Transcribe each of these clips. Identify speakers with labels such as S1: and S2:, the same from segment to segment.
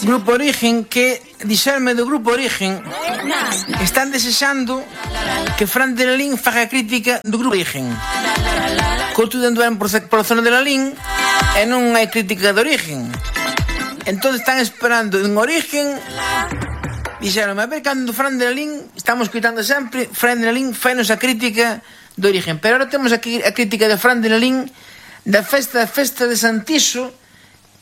S1: Grupo Origen, que dixerme do Grupo Origen están desexando que Fran de Lalín faga crítica do Grupo Origen. Couto de anduaren por zona de Lalín e non hai crítica de Origen. Entón están esperando en Origen. Dixeron, a ver, cando Fran de Lalín, estamos escutando sempre, Fran de Lalín fainos a crítica de Origen. Pero ahora temos aquí a crítica de Fran de Lalín da festa de Santiso,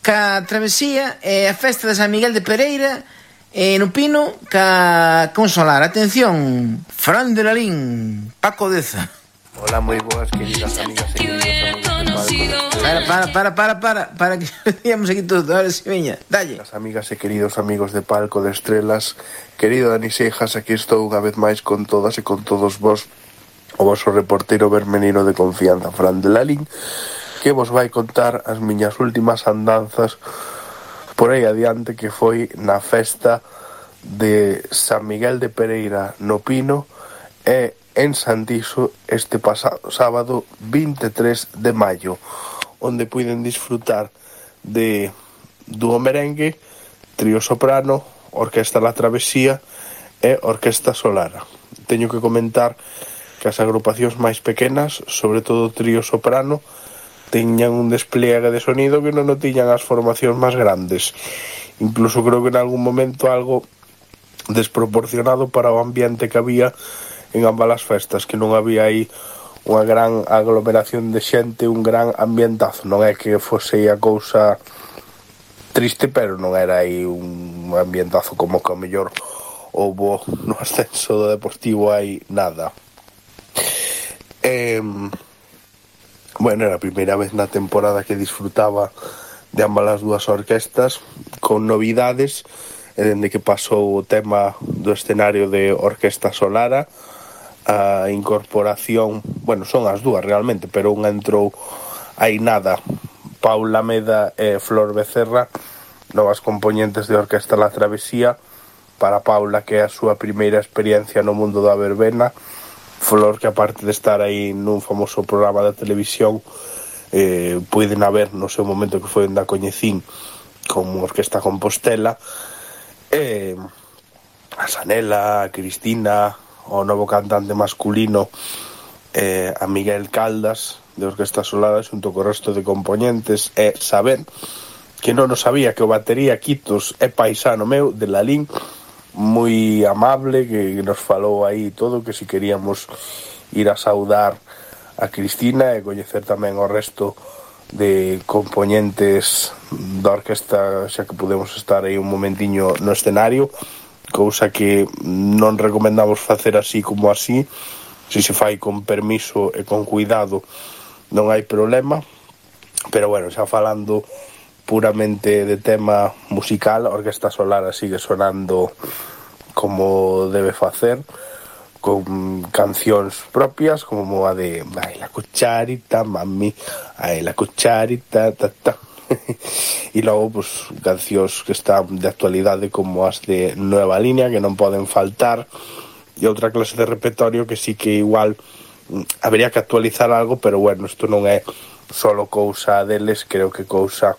S1: ca travesía e a festa de San Miguel de Pereira no Pino ca Consolar. Atención, Fran de Lalín, Paco Deza.
S2: Hola, moi boas, queridas amigas e queridos
S1: Para que digamos aquí todo, ahora si veña, dalle.
S2: Las amigas e queridos amigos de Palco de Estrelas, querido Dani Seijas, aquí estou unha vez máis con todas e con todos vos, o vosso reportero vermenino de confianza, Fran de Lalín, que vos vai contar as miñas últimas andanzas por aí adiante, que foi na festa de San Miguel de Pereira no Pino e en Santiso este pasado sábado 23 de maio, onde puiden disfrutar de dúo merengue, trío soprano, orquesta La Travesía e orquesta Solara. Teño que comentar que as agrupacións máis pequenas, sobre todo o trío soprano, teñan un despliegue de sonido que non o tiñan as formacións máis grandes. Incluso creo que en algún momento algo desproporcionado para o ambiente que había en ambas as festas, que non había aí unha gran aglomeración de xente, un gran ambientazo. Non é que fose a cousa triste, pero non era aí un ambientazo como que ao mellor houbo no ascenso do Deportivo hai nada. Bueno, era a primeira vez na temporada que disfrutaba de ambas as dúas orquestas, con novidades, e dende que pasou o tema do escenario de Orquesta Solara, a incorporación, bueno, son as dúas realmente, pero unha entrou hai nada, Paula Meda e Flor Becerra, novas componentes de Orquesta La Travesía, para Paula, que é a súa primeira experiencia no mundo da verbena, Flor, que aparte de estar aí nun famoso programa de televisión, puiden haber no seu momento que foi onde a coñecín como Orquesta Compostela, a Sanela, a Cristina, o novo cantante masculino, a Miguel Caldas de Orquesta Solara xunto co resto de componentes, e saber que non o sabía que o batería Quitos é paisano meu de Lalín, moi amable, que nos falou aí todo, que si queríamos ir a saudar a Cristina e coñecer tamén o resto de componentes da orquesta, xa que podemos estar aí un momentiño no escenario, cousa que non recomendamos facer así como así. Se se fai con permiso e con cuidado non hai problema, pero bueno, xa falando puramente de tema musical, a Orquesta Solara sigue sonando como debe facer, con cancións propias como a de ai la cucharita, mami, ai la cucharita, ta ta. E logo, pues, cancións que están de actualidade como as de Nueva Línea, que non poden faltar, e outra clase de repertorio que sí que igual habería que actualizar algo, pero bueno, isto non é solo cousa deles, creo que cousa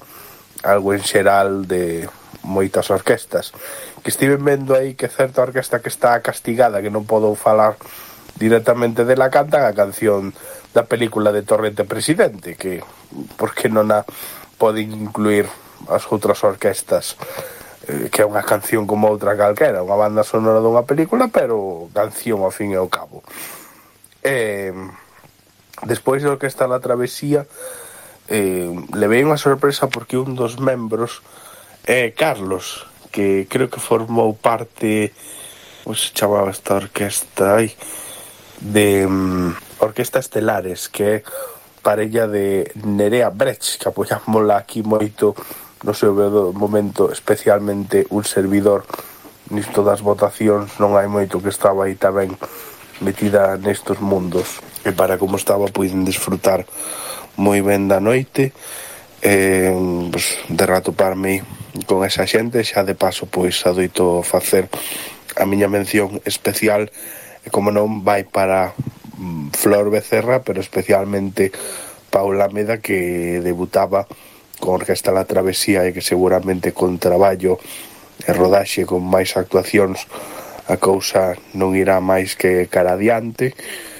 S2: algo en xeral de moitas orquestas. Que estiven vendo aí que certa orquesta que está castigada, que non podo falar directamente dela, cantan a canción da película de Torrente Presidente, que por que non a poden incluir as outras orquestas, que é unha canción como outra calquera, unha banda sonora dunha película, pero canción ao fin e ao cabo. Despois da Orquesta La Travesía, levei unha sorpresa porque un dos membros é Carlos, que creo que formou parte, como se chamaba esta orquesta de Orquesta Estelares, que é parella de Nerea Brecht, que apoyámosla aquí moito no seu momento, especialmente un servidor nisto das votacións, non hai moito que estaba aí tamén metida nestos mundos, e para como estaba puiden disfrutar moi ben da noite, pues, de ratoparme con esa xente. Xa de paso pois adoito facer a miña mención especial, e como non vai para Flor Becerra, pero especialmente Paula Meda, que debutaba con Orquesta La Travesía e que seguramente con traballo e rodaxe con máis actuacións a cousa non irá máis que cara adiante,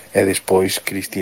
S2: e despois Cristina